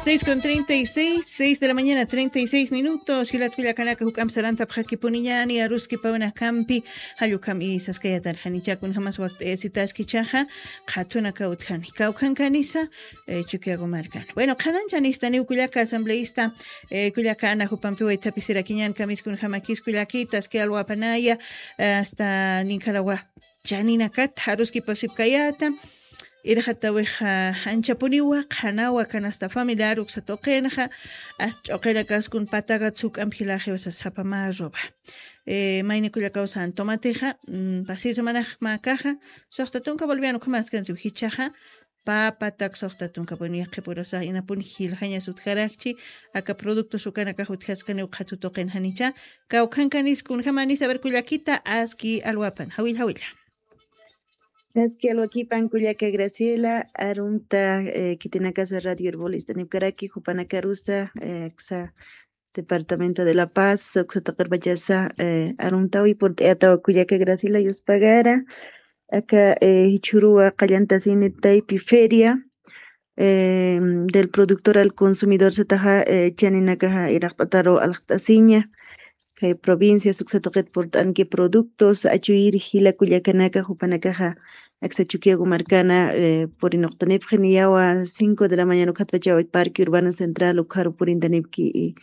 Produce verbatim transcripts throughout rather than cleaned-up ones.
Seis con treinta y seis, seis de la mañana, treinta y seis minutos. Jilat kullakanaka, juk'amp sarantapxakipuniñani aruskipawinakampi, jallukam isaskayatan janichakun jamas wakt'ayasitaskichaxa, qhatunaka utjani. Kawkhankanisa, eh, Chukiyagu markan. Bueno, qhananchanistaniw kullaka asambleísta, eh, kullaka Ana jupampi waythapisirakiñan kamiskun jamakis kullakitas, que alwapanaya, eh, hasta ninkarawa. Chaninakat aruskipasipkayata, irxatawixa anchapuniwa, qhanawa, canasta familiar, uksa tuqinxa, as ch'uqinakaskun patakat suk'amp jilaxiwasa sapama roba. Eh, mayni kullakawsan tomatixa, mm, pasir semanax makaxa, soxta tunka boliviano ukhamaskansiw jichaxa, papatak soxta tunka, bueno, yaqhipurusa inapun jiljañas utjarakchi, aka productos ukanakax utjaskaniw qhatu tuqin janicha, kawkhankanis kunjamanis, a ver, kullakita, aski alwapan, jawilla, jawilla. Aski alwakipan kullaka Graciela, arunta, eh, khitinakasa Radio Urbol ist'anipkaraki, jupanakarusa, eh, aksa Departamento de La Paz, uksa tuqirpachasa, eh, aruntawi purt'ayatawa kullaka Graciela Yuspagara, aka, eh, jichhuruwa qallantasini taypi feria, eh, del productor al consumidor sataxa, eh, chaninakaxa iraqt'ataru alqt'asiña, kay provincias uksa tuqit purt'anki productos, achuyir jila kullakanaka, jupanakaxa aksa Chukiyagu markana, eh, purinuqtanipxi niyawa cinco de la mañana ukhatpachawa Parque Urbano Central ukharu purintanipki, eh,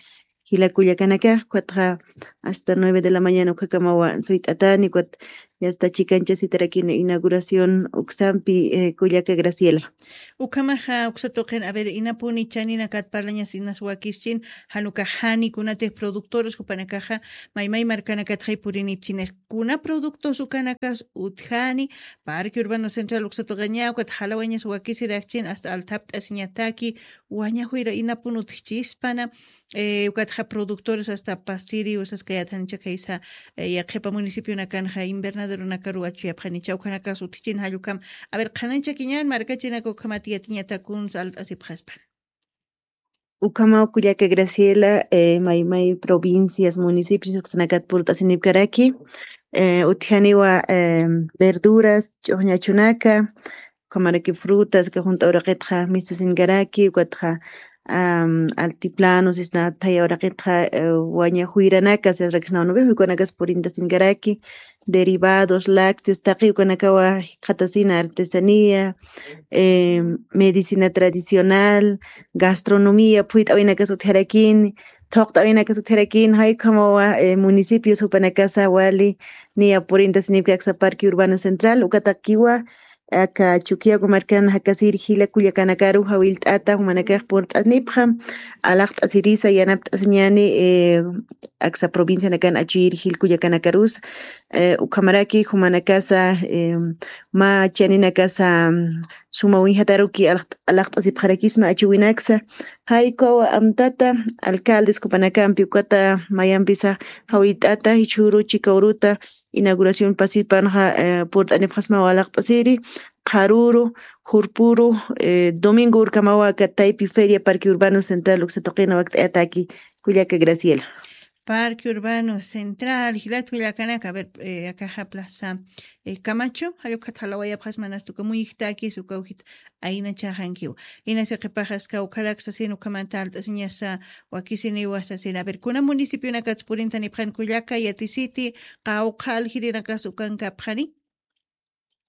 jila kullakanakax, ukatxa hasta nueve de la mañana ukhakamawa suyt'atani, ukat yasta chikanchasitarakini inauguración uksampi, eh, kullaka Graciela. Ukhamaxa uksa tuqin, a ver, inapuni chaninakat parlañas inas wakischin, jan ukax jani kunatix productores jupanakaxa maymay markanakatxay purinipchinix, kuna productos ukanakas utjani, Parque Urbano Central uksa tuqiña, ukat jalawañas wakisirakchin, hasta althapt'asiñataki, wañajuyra inapun utjchispana, eh, ukatxa productores hasta pasiri, usaskayat janicha kaysa, eh, yaqhipa municipionakanxa invernaderonakaru achuyapxanicha, ukhanakas utjchin jallukam. A ver, qhananchakiñan markachinak ukhamat yatiñatakunsa alt'asipxaspan. Ukhamaw kullaka Graciela, eh, maymay provincias, municipios, uksanakat purt'asinipkaraki, eh, utjaniwa, eh, verduras, ch'uxñachunaka, ukhamaraki frutas, ka junt'a uraqitxa mistusinkaraki, ukatxa, am, altiplano, sisna thaya uraqitxa, eh, waña juyranaka, sisrakisnaw nubi juykanakas purintasinkaraki, derivados, lácteos, taqi ukanakawa jikxatasina artesanía, eh, medicina tradicional, gastronomía, phuyt'awinakas utjarakini, thuqt'awinakas utjarakini, jay ukhamawa, eh, municipios jupanakasa wali niya purintasinipki aksa Parque Urbano Central, ukatakiwa, aka Chukiyagu markan jakasir jila kullakanakaru jawillt'ata jumanakax purt'anipxa, alaqt'asirisa, yanapt'asiñani, eh, aksa provincianakan achuyir jil kullakanakarus, eh, ukhamaraki jumanakasa, eh, mä chaninakasa, mm, suma uñjataruki alaq-, alaqt'asipxarakisma achuwinaksa, jay ukawa amtata, alcaldes jupanakampi ukata mayampisa jawillt'ata, jichhüru chika uruta, inauguración pasipanxa, eh, purt'anipxasmaw alaqt'asiri, qharüru, jurpüru, eh, domingo urkamawa aka taypi feria Parque Urbano Central uksa tuqina wakt'ayataki, kullaka Graciela. Parque Urbano Central, jilat kullakanaka, a ver, eh, akaxa plaza, eh, Camacho, jay ukat jalawayapxasma, nasta uka muyijtakis, uka ujit aynachaxankiwa. Inasa qhipaxaska ukharak sasin ukhamanta alt'asiñasa wakisiniwa sasin. A ver, kuna municipionakats purintanipxan kullaka, yatisiti, qawqha aljirinakas ukankapxani?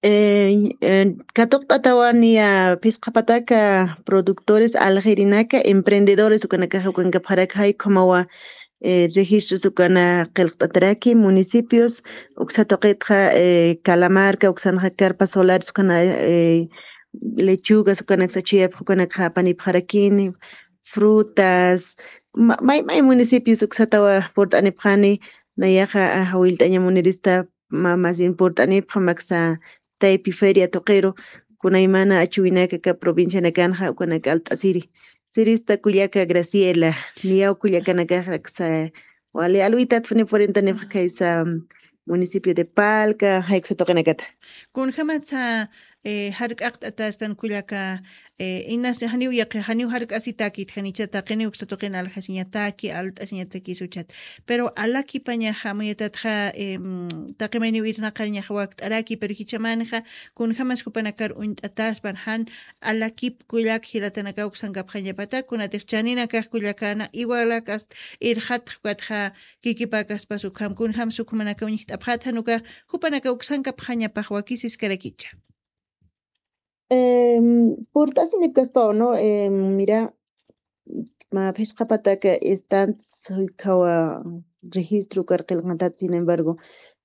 Eh, eh, katuqt'atawa niya phisqa pataka productores aljirinaka, emprendedores ukanakaxa ukankapxaraki, jay ukhamawa, eh, registros ukana qillqt'ataraki, municipios, uksa tuqitxa, eh, Calamarca, uksanxa carpas solares ukana, eh, lechugas ukanaksa chuyapx ukanakxa apanipxarakini, frutas, ma-, may, may municipios uksatawa purt'anipxani, nayaxa, ah, jawillt'aña munirista, ma-, más bien purt'anipxa maksa taypi feria tuqiru, kunaymana achuwinaka aka provincianakanxa ukanak alt'asiri. Sirista kullaka Graciela, niyaw kullakanakaxraksa, wali alwitatfuni purintanipxa kaysa municipio de Palca, jay uksa tuqinakata. Kunjamatsa eh, jark'aqt'ataspan kullaka, eh, inas janiw yaqi, janiw jark'asitakit, janicha taqiniw uksa tuqin aljasiñataki, alt'asiñatakis uchat. Pero alakipañaxa, amuyatatxa, em, taqi mayniw irnaqariñaxa wakt'araki, pero jichhamanxa, kunjamas jupanakar uñt'ataspan, jan alakip kullak jilatanakaw uksankapxañapata, kunatix chaninakax kullakana, iwalak ast irxatx ukatxa, kikipakaspas ukham, kunjams ukhamanakaw ñijt'apxatxa, nuka jupanakaw uksankapxañapax wakisiskarakicha. Em, purt'asinipkaspaw, ¿no? Em, mira, ma phisqapataka stand suykawa registro karqilqantat, sin embargo,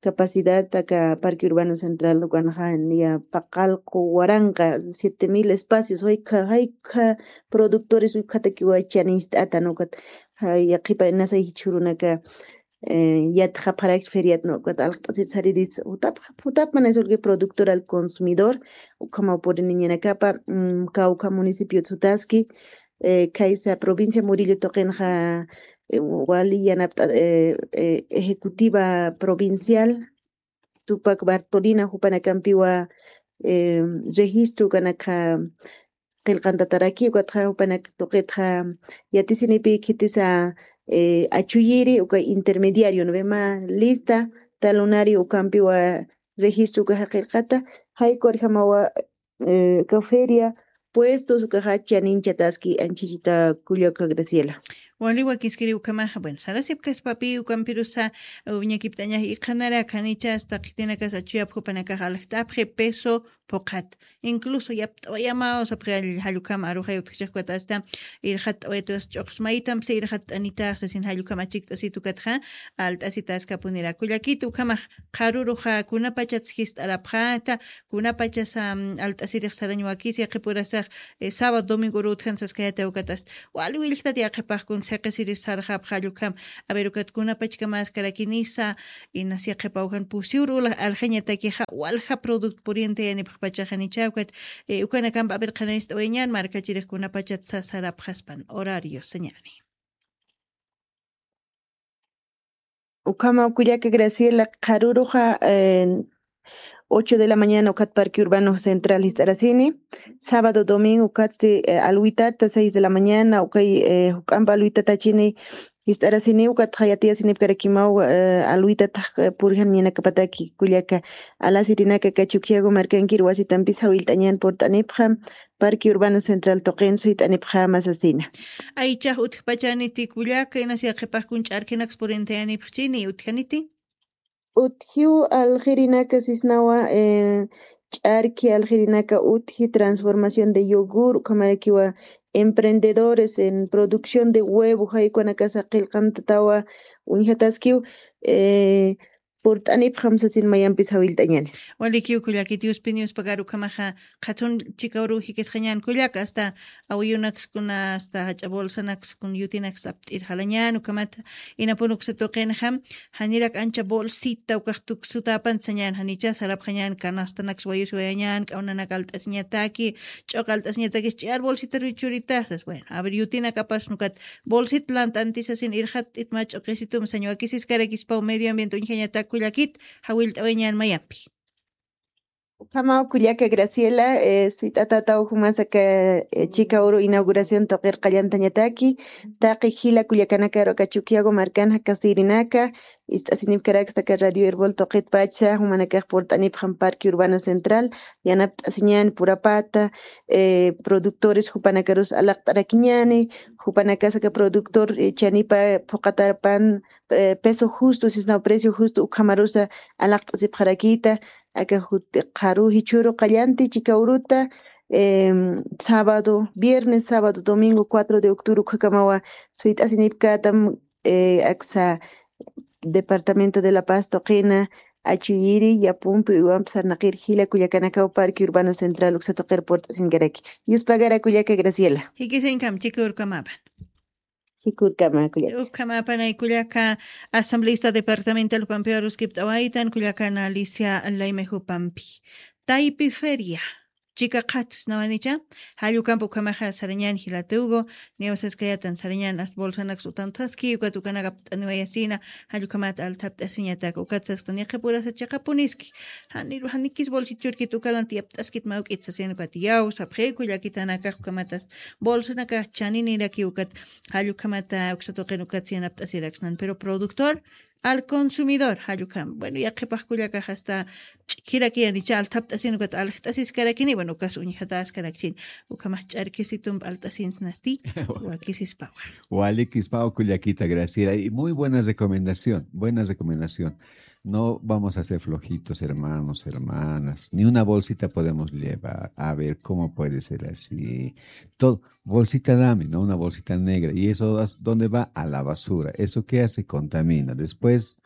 capacidad taka Parque Urbano Central ukanxa niya paqalqu waranqa siete mil espacios, jayka, jayka productores ukhatakiwa chaninst'ata, ¿no? Ukat, jay, yaqipa inasay jichhurunaka, eh, yatxapxarak feriat, ¿no? Ukat alqt'asir sariris, utap, utap mana es que productor al consumidor, ukhama puriniñanakapa, mm, kawkha municipio sutaski, eh, kaysa provincia Murillo tuqinxa, eh, wali yanapt'a, eh, eh, ejecutiva provincial, Tupac Bartolina, jupanakampiwa, eh, registro ukanakxa qillqantataraki, ukatxa jupanak tuqitxa yatisinipi khitisa, eh, achuyiri, uka intermediario, ¿no ve? Ma lista, talonari, ukampiwa registro ukaxa qillqata, jaykurjamawa, eh, uka feria, puestos, ukaxa chaninchataski anchichita kullaka Graciela. Wali wakiskiri ukhamaxa, bueno, sarasipkaspapi ukampirusa, uh, ñakipt'añax iqhanarak janichas taqitinakas achuyap jupanakax aljt'apxi peso phuqhat. Incluso yapt'awayamaw sapxi jall-, jallukam aruxay utjchajkutasta, irxatt'awayatukas ch'uqsmaytampsi irxatt'anitax sasin jallukam achikt'asitukatxa, alt'asitaskapunira. Kullakit ukhamax qharuruxa kunapachats jist'arapxata, kunapachas, am, alt'asirix sarañ wakis yaqipurasax, eh, sábado, domingo urutjan saskayata ukatast. Wali willjtat yaqipaqkun siqisiris sarxapxa jallukam. A ver, ukat kunapachkamaskarakinisa, inas yaqipawjan pusiwru ula-, aljañatakixa, walja product puriente yanipxpachaxanicha ukat, eh, ukanakampa a ver qhanayist'awayañan, markachirix kunapachat sa-, sarapxaspan, horario, sañani. Ukhama kullaka Graciela, qharuruxa, eh, ocho de la mañana ukat Parque Urbano Central jist'arasini, sábado, domingo ukatsti, eh, alwitata seis de la mañana, ukay, eh, juk'ampa alwitatachini jist'arasini, ukatxa yatiyasinipkarakimaw, eh, alwitatax, eh, purjan ñanakapataki kullaka, alasirinaka kachukiagu markankir wasitampis jawillt'añan purt'anipxam, Parque Urbano Central tuqin suyt'anipxama sasina. Aychax utjpachaniti kullaka, inas yaqipaqkun ch'arkinaks purintayanipxchini, utjaniti? Utjiw aljirinaka sisnawa, eh, ch'arki aljirinaka utji transformación de yogur, ukhamarakiwa emprendedores en producción de huevo, jaykunakasa qillqantatawa uñjataskiw, eh, purt'anipxam sasin mayampis jawillt'añani. Walikiw kullakit, Diospi Diospagar ukhamaxa qhatun chikawru jikisqañan kullaka, hasta awiyunakskuna, hasta jach'a bolsanakskun yutinaks apt'ir jalañan, ukhamata inapun uksa tuqinxa, janirak ancha bolsita ukax tuksutapan sañan, janicha sarapxañan, canastanaks wayus wayañan, k'awnanak alt'asiñataki, ch'uq alt'asiñatakis ch'ar bolsitaru churitasas, bueno, a ver, yutinakapas nukat bolsit lant'antisasin irxatt'it mä ch'uqisitum sañ wakisiskarakispaw medio ambiente uñjañatak kullakit, jawillt'awayañan mayampi. Ukhamaw kullaka Graciela, eh, sit'atataw jumasaka, eh, chika uru inauguración tuqir qallantañataki, taqi jila kullakanakaru aka Chukiyawu markan jakasirinaka, ist'asinipkarakstaka Radio Erbol tuqitpacha, jumanakax purt'anipxam Parque Urbano Central, yanapt'asiñani purapata, eh, productores jupanakarus alaqt'arakiñani, jupanakasaka productor, eh, chanipa phuqatapan, eh, peso justo, sisnaw precio justo ukhamarusa alaqt'asipxarakita, aka juti qharu jichhuru qallanti chika uruta, em, sábado, viernes, sábado, domingo, cuatro de octubre, ukhakamawa suyt'asinipkatam, eh, aksa Departamento de La Paz tuqina, achuyiri, yapumpi, uywampi sarnaqir jila kullakanakaw Parque Urbano Central uksa tuqir purt'asinkaraki. Yuspagara kullaka Graciela. Jikisiñkam, chika urukamapan. Chika urukama kullaka. Ukhamapanay kullaka, asambleísta departamental jupampi aruskipt'awaytan, kullakana Alicia Laime jupampi. Taypi feria. chika qhatus, ¿no? Anicha, jall ukamp ukhamaxa sarañän jilatugu, niyaw saskayätan sarañän ast bolsanaks utanthaski, ukat ukanak apt'aniwayasina, jall ukhamat althapt'asiñatak, ukat sasktan yaqhipurasa chiqapuniski. Janiru, janikis bolsit churkit ukalanti apt'askit mawk'it sasin ukat yaw, sapxiw kullakitanakax ukhamatas bolsanakax chaninirakiw ukat, jall ukhamata uksa tuqin ukat siyan apt'asiraksnan, pero productor al consumidor, jall ukham. Bueno, yaqhipax kullakax hasta ch'ikhirakiyanicha althapt'asin ukat aljt'asiskarakini, bueno, ukas uñjatäskarakchin. Ukhamax ch'arkisitump alt'asinsnasti, wakisispawa. Walikispawa kullakita Graciela, y muy buena recomendación, buena recomendación. No vamos a ser flojitos, hermanos, hermanas. Ni una bolsita podemos llevar. A ver, ¿cómo puede ser así? Todo, bolsita dame, ¿no? Una bolsita negra. ¿Y eso as- dónde va? A la basura. ¿Eso qué hace? Contamina. Después,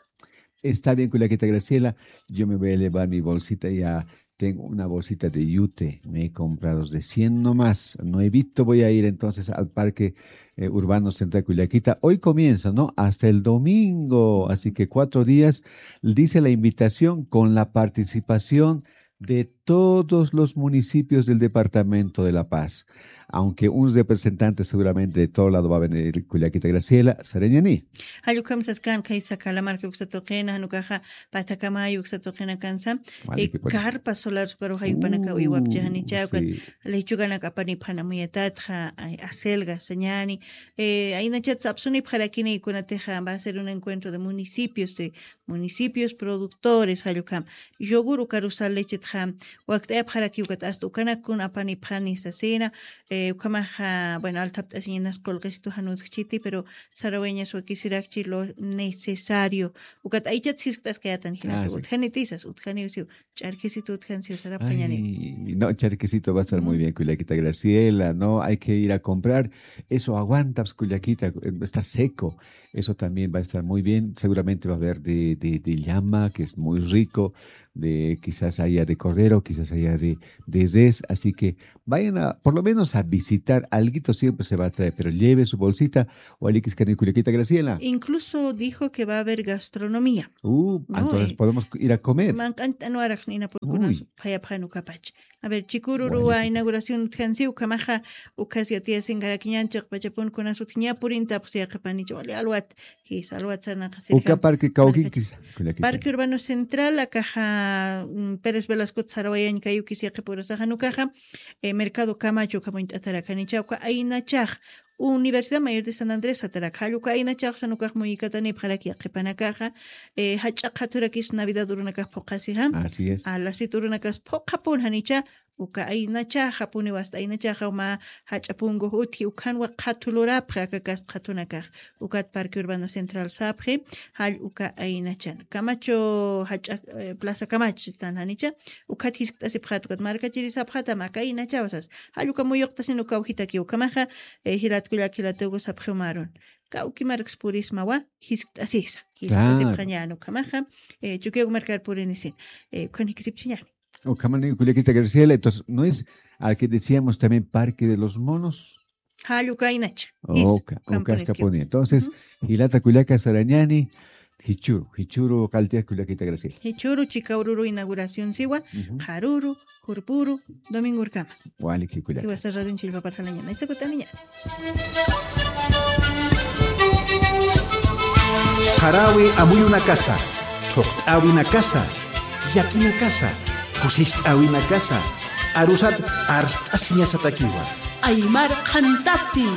está bien, kullakita Graciela, yo me voy a llevar mi bolsita ya. Tengo una bolsita de yute, me he comprado de cien nomás. No evito, voy a ir entonces al parque eh, Urbano Central Cullaquita. Hoy comienza, ¿no? Hasta el domingo, así que cuatro días, dice la invitación, con la participación de todos los municipios del departamento de La Paz. Aunque un representante seguramente de todo lado va a venir, Cullaquita Graciela, sarañani. Jall ukham saskan, khaysa Calamarca uksa tuqina, jan ukaxa Patakamay uksa tuqinakansa, eh, carpas solares ukaruxa yupanakaw iwapchixanicha, ukat lechuganak apanipxan amuyatatxa, ay, acelga sañani, eh, aynachat sapsunipxarakini, kunatixa va a ser un encuentro de municipios, de municipios productores, jall ukham. Yogur ukarusal lechetxa wakt'ayapxaraki, ukat asta ukanak kun apanipxani sasina, eh, ukhamaxa, bueno, althapt'asiñanas qullqistu jan utjchiti, pero sarawayañas wakisirakchi lo necesario. Ukat aychat jiskt'askayätan jilata, utjanitisas, utjaniw siw, ch'arkisitu utjan siw sarapxañäniw. Ay, no, ch'arkisitu va a estar muy bien, kullakita Graciela, ¿no? Hay que ir a comprar. Eso aguanta, pues, kullakita, eh, está seco. Eso también va a estar muy bien. Seguramente va a haber de, de, de llama, que es muy rico, de, quizás haya de cordero, quizás haya de, de res. Así que vayan a, por lo menos a visitar. Alguito siempre se va a traer, pero lleve su bolsita. Walikiskan kullakita Graciela. Incluso dijo que va a haber gastronomía. Uh, ¿no? Entonces podemos ir a comer. Manq'anch't'anwarax nina purkunas phayapxan ukapach. A ver, chikururuwa inauguración utjansi, ukhamaxa ukhas yatiyasinkarakñan chiqpachapun kunas utjña purintapxsi yaqhipanicha, wali alwat, jisa alwat sarnaqasirja. Uka parque kawkinkisa, kullakita. Parque Urbano Central, akaxa, mm, Pérez Velasco sarawayañ kayukis yaqhipurasaxa, ukaxa, eh, Mercado Camacho ukhamuñt'atarakanicha, uka aynachax, Universidad Mayor de San Andrés satarak, jall uka aynachaxa, ukax muyikatanipxarak yaqhipanakaxa, eh, jach'a qhaturakis Navidad urunakax phuqhasixa. Así es. Alasit urunakax phuqhapun janicha, uka aynachaxa, puniw asta aynachaxa, mä jach'a punkux utji, ukhanwa qhatu lurapxi aka kast qhatunakax. Ukat Parque Urbano Central sapxi, jall uka aynachan. Camacho jach'a, eh, Plaza Camacho sistan janicha, ukat jiskt'asipxat, ukat markachiri sapxatam aka aynachaw sas. Jall uka muyuqtasin uka awjitaki ukhamaxa, eh, jilat kullak jilatugu sapxiw marun. Kawki marks purismawa, jiskt'asisa. Jiskt'asipxañän ukhamaxa, eh, Chukiyawu markar purinisin. Eh, ukhan jikisipchiñäni. Ukhamani kullakita Graciela, entonces, ¿no es al que decíamos también Parque de los Monos? Jall uka aynacha. Jis, uka, ukham uka puniski. Askapuni. Entonces, jilata kullaka sarañani, jichuru, jichuru qalltiya kullakita Graciela. Jichuru, chika ururu inauguración siwa, qharuru, jurpuru, domingurkama. Walik jikullaka. Jiwasa radion chillpaparjalañana. Isakutaniña. Sarawi amuyunakasa, thuqt'awinakasa, yakinakasa, kusist'awinakasa, arusat arst'asiñasatakiwa. Aymar Qhantati.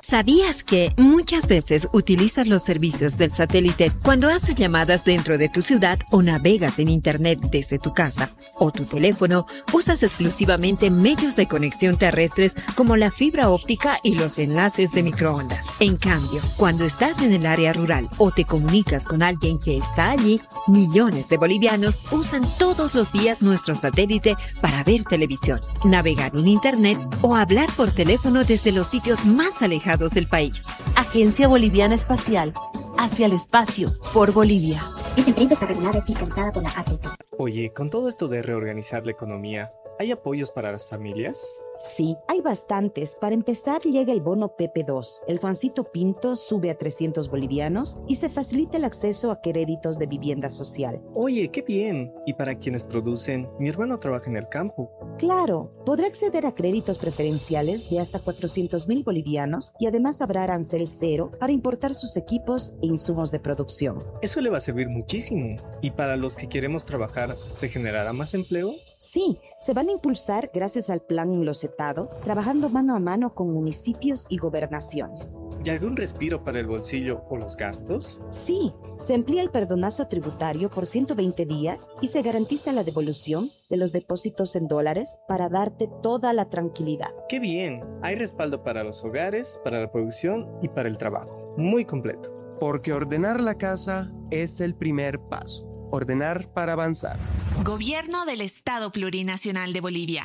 ¿Sabías que muchas veces utilizas los servicios del satélite cuando haces llamadas dentro de tu ciudad o navegas en internet desde tu casa o tu teléfono? Usas exclusivamente medios de conexión terrestres como la fibra óptica y los enlaces de microondas. En cambio, cuando estás en el área rural o te comunicas con alguien que está allí, millones de bolivianos usan todos los días nuestro satélite para ver televisión, navegar en internet o hablar por teléfono desde los sitios más alejados del país. Agencia Boliviana Espacial, hacia el espacio, por Bolivia. Esta empresa está regulada y fiscalizada por la A T T. Oye, con todo esto de reorganizar la economía, ¿hay apoyos para las familias? Sí, hay bastantes. Para empezar, llega el bono P P dos. El Juancito Pinto sube a trescientos bolivianos y se facilita el acceso a créditos de vivienda social. Oye, qué bien. Y para quienes producen, mi hermano trabaja en el campo. Claro, podrá acceder a créditos preferenciales de hasta cuatrocientos mil bolivianos y además habrá arancel cero para importar sus equipos e insumos de producción. Eso le va a servir muchísimo. ¿Y para los que queremos trabajar, se generará más empleo? Sí, se van a impulsar gracias al plan Locetado, trabajando mano a mano con municipios y gobernaciones. ¿Y algún respiro para el bolsillo o los gastos? Sí, se amplía el perdonazo tributario por ciento veinte días y se garantiza la devolución de los depósitos en dólares para darte toda la tranquilidad. Qué bien, hay respaldo para los hogares, para la producción y para el trabajo. Muy completo. Porque ordenar la casa es el primer paso. Ordenar para avanzar. Gobierno del Estado Plurinacional de Bolivia.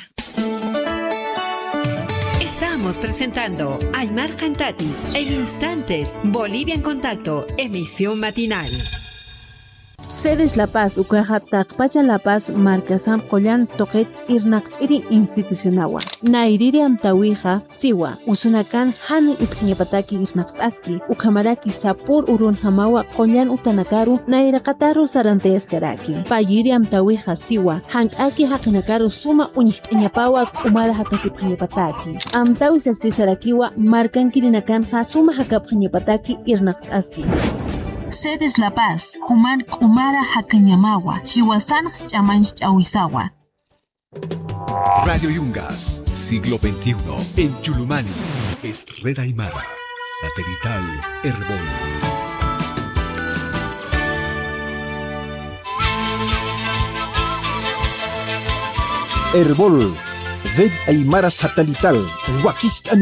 Estamos presentando Aymar Cantati en instantes, Bolivia en Contacto, emisión matinal. Sedes La Paz ukaxa taqpacha La Paz markasamp qullan tuqit irnaqt'iri institucionawa. Nayriri amtäwixa siwa, usunakan jan ipxiñapataki irnaqt'aski, ukhamaraki sapür urunjamawa qullan utanakaru nayraqataru sarantayaskaraki. Payiri amtäwixa siwa, jank'aki jaqinakaru suma uñjt'añapawa k'umara jakasipxiñapataki. Amtäwi sasti sarakiwa markankirinakanxa suma jakapxiñapataki irnaqt'aski. Sedes La Paz, juman k'umara jakañamawa, jiwasan ch'amanch'awisawa. Radio Yungas, siglo veintiuno, en Chulumani, es Red Aymara, satelital, Erbol. Erbol, Red Aymara satelital, wakist'ani